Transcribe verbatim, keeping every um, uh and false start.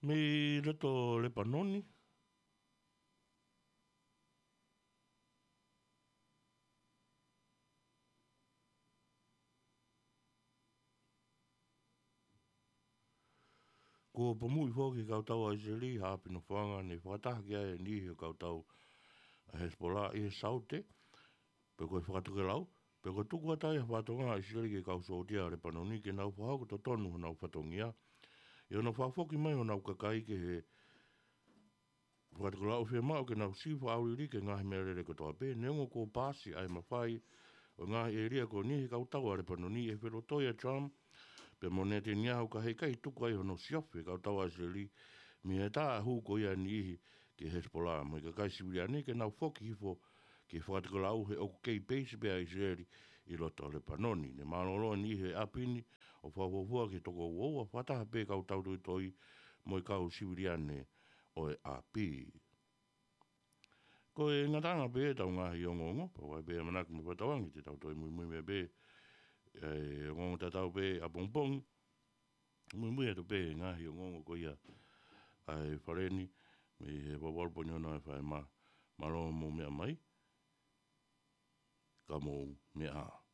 Mei loto Lepanoni. Kuo pomuʻi foki e kau tau ʻa ʻIsileli ha ʻapi nofoʻanga ne fakataha ki ai e niʻihi ʻo e kau tau ʻa Hesipola ʻi he saute, pe ko e fakatokelau, pe ko e tuku atu ai ha fatongia ʻa ʻIsileli ki he kau sōtia ʻa Lepanoni ke nau fakahoko totonu honau fatongia, ʻi hono fakafoki mai honau kakai ki he fakatokelau. Fiemaʻu ke nau sivi fakaʻauliliki e ngaahi meʻalele kotoa pē, neongo kuo paasi ʻa e mafai ʻo e ngaahi ʻēlia ko eni ʻe he kau tau ʻa Lepanoni ʻi he felotoi ʻa Trump pea mo Netanyahu, ka heʻikai tuku ai hono siofi e kau tau ʻa ʻIsileli mei he tā hū ko ia e niʻihi ki Hesipola mo e kakai siviliane ke nau foki hifo ki he fakatokelau, he ʻoku kei peisi pē ʻa ʻIsileli ʻi loto Lepanoni. Ne mālōlō e niʻihi he ʻapi ni ʻo fakafuofua ki he toko uaua, fakataha pē kau tau toitoi mo e kau siviliane ʻo e ʻapi. Ko e ngataʻanga pē ʻetau ngaahi ongoongo, pea ʻoku ʻi ai pē ʻamanaki mo e fakatauange te tau toe muimui mai pē ʻa e ongoongo tatau pē ʻapongipongi. Muimui atu pē he ngaahi ongoongo ko ia ʻa e Fale ni, mei he valu valu poini ono F M. Mālō hoʻomou meʻa mai, ka mou meʻa ā.